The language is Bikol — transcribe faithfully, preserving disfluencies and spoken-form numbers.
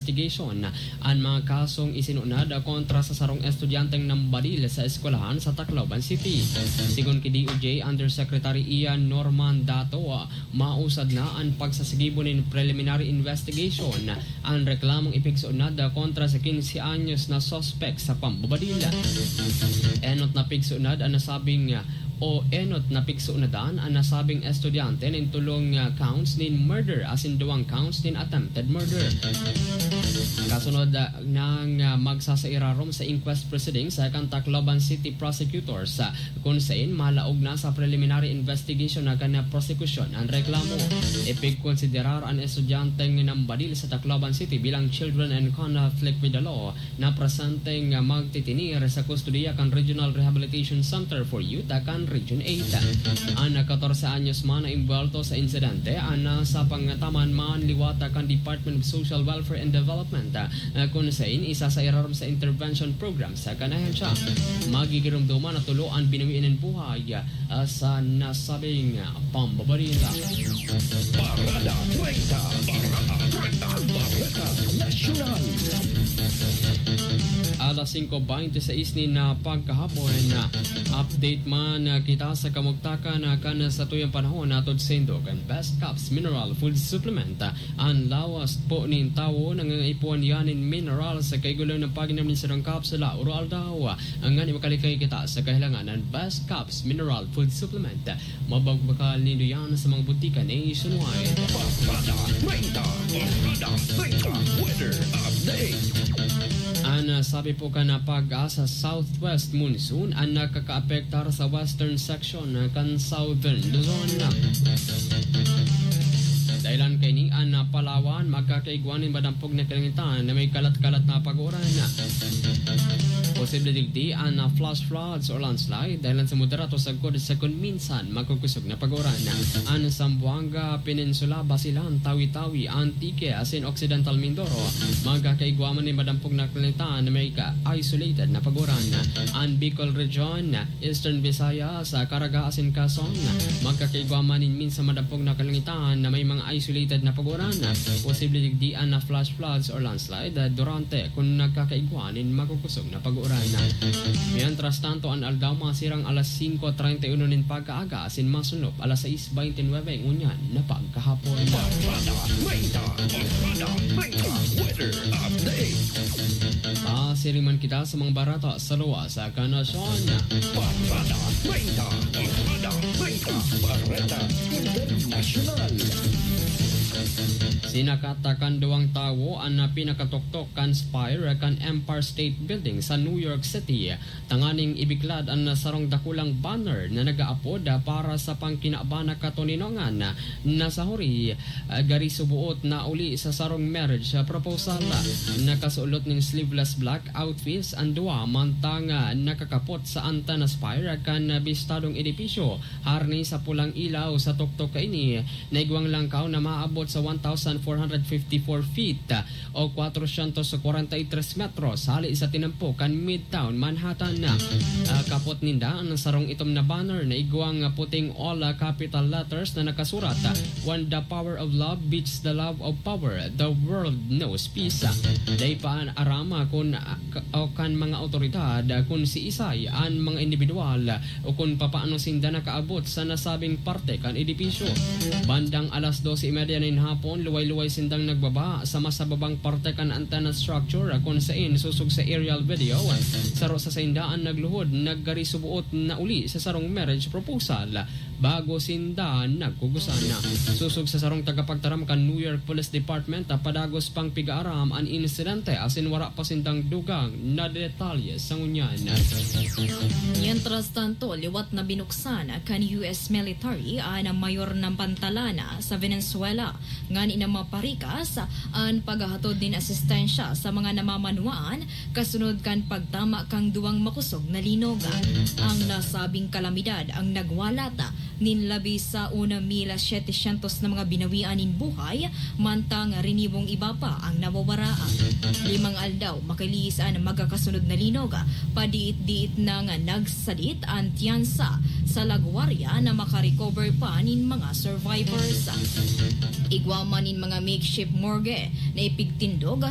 Investigation an mga kasong isinunad kontra sa sarong estudyanteng nambadil sa eskwelahan sa Tacloban City. Sigon ki D O J Undersecretary Ian Norman Dato, mausad na an pagsasigibo nin preliminary investigation. An reklamong ipigsunad kontra sa quince anyos na suspek sa pambabadil. Enot na pigsunad an nasabing o enot na pigsunadan an nasabing estudyante nin tolong, ah, counts nin murder asin duwang counts nin attempted murder. Kasunod, ah, nang, ah, magsasairarom sa inquest proceedings, ah, kan Tacloban City Prosecutors, ah, kun sain malaog na sa preliminary investigation na kan prosekusyon an reklamo. Ipigkonsiderar an estudyanteng nambadil sa Tacloban City bilang children in conflict with the law na presenteng magtitinir sa kustodiya kan Regional Rehabilitation Center for Youth kan Region eight. An katorse anyos man na imbwelto sa insidente, an nasa pangataman man liwat kan Department of Social Welfare and Development, kun sain isa sa irarom sa intervention program sa kan ahensya. Magigiromdoman na tulo an binuwi nin buhay, ah, sa nasabing, ah, pambabaril. Parada treinta, Parada treinta, Bareta Nasyonal. Alas singko bente sais nin, ah, pagkahapon, ah, update man, ah, kita sa kamugtakan, ah, kan satuyang panahon atod saindo kan Best Caps Mineral Food Supplement. An lawas po nin tawo nangangaipuhan yan nin mineral sa kaigulang ng paghinam nin sarong kapsula oro aldaw. Nganing makalikay kita sa kahilangan ng Best Caps Mineral Food Supplement. Mabagbakal nindo yan sa mga butika nationwide. Parada treinta, Parada treinta, weather update. An, ah, sabi po kan, ah, PAGASA, southwest monsoon an nakakaapektar sa western section, ah, kan southern Luzon. Dahelan kaini, an, ah, Palawan magkakaigwa nin madampog na kalangitan na may kalat-kalat na pag-uuran. Posible digdi an, ah, flash floods or landslide dahelan sa moderato sagkod sa kun minsan makukosog na pag-uuran. An Zamboanga Peninsula, Basilan, Tawi-Tawi, Antique, asin Occidental Mindoro, magkakaigwa man nin madampog na kalangitan na may ka-, isolated na pag-uuran. An Bicol Region, Eastern Visayas, Caraga asin Quezon, magkakaigwa man nin minsan madampog na kalangitan na may mga isolated na pag-uuran. Posible digdi an flash floods or landslide durante kun nagkakaigwa nin makukosog na pag-uuran. Mientras tanto, an aldaw masirang alas singko treinta y uno nin pagkaaga asin masunop alas sais baynte nuebe ngunyan na pagkahapon. Parada treinta, Parada treinta, weather update. Pasiring man kita sa mga bareta sa luwas kan nasyon. Parada treinta, Parada treinta, Bareta Internasyonal. Sinakata kan duwang tawo an pinakatuktok kan spire kan Empire State Building sa New York City, tanganing ibiklad an sarong dakulang banner na nag-aapod para sa pangkinaban na katoninongan na sa huri, ah, gari suboot na uli sa sarong marriage, ah, proposal. Nakasulot nin sleeveless black outfits an duwa, mantang, ah, nakakapot sa antenna spire kan, ah, bistadong edipisyo. Harani sa pulang ilaw sa tuktok kaini, naigwang langkaw na maabot sa one thousand four hundred fifty-four feet, ah, o kwatrosyentos kwarenta y tres metros, hali sa tinampo kan Midtown Manhattan. Ah, kapot ninda an sarong itom na banner na igwang puting all, ah, capital letters na nakasurat, ah, "When the power of love beats the love of power, the world knows peace." Dai pa an aram, ah, kun, ah, k-, o kan mga awtoridad, ah, kun siisay an mga indibidwal, ah, o kun papaano sinda nakaabot sa nasabing parte kan edipisyo. Bandang alas dose y media nin hapon, luway-luway sindang nagbaba sa mas mababang parte kan antenna structure, kun sain sosog sa aerial video, saro sa sainda an nagluhod, naggari suboot na uli sa sarong marriage proposal bago sinda nagkugusan. Sosog sa sarong tagapagtaram kan New York Police Department, padagos pang pig-aaram an insidente asin wara pa sindang dugang na detalye sa ngunyan. Mientras tanto, liwat na binuksan kan U S military an mayor na pantalan sa Venezuela nganing maparikas an paghahatod nin asistensya sa mga namamanwaan kasunod kan pagtama kan duwang makosog na linog. Ang nasabing kalamidad ang nagwalat nin labi sa mil setecientos na mga binawian nin buhay, mantang rinibong iba pa ang nawawara. Limang aldaw makalihis an magkakasunod na linog, padiit-diit nang nagsadit an tyansa sa lagwarya na makarecover pa nin mga survivors. Igwa man nin mga makeshift morgue na ipigtindog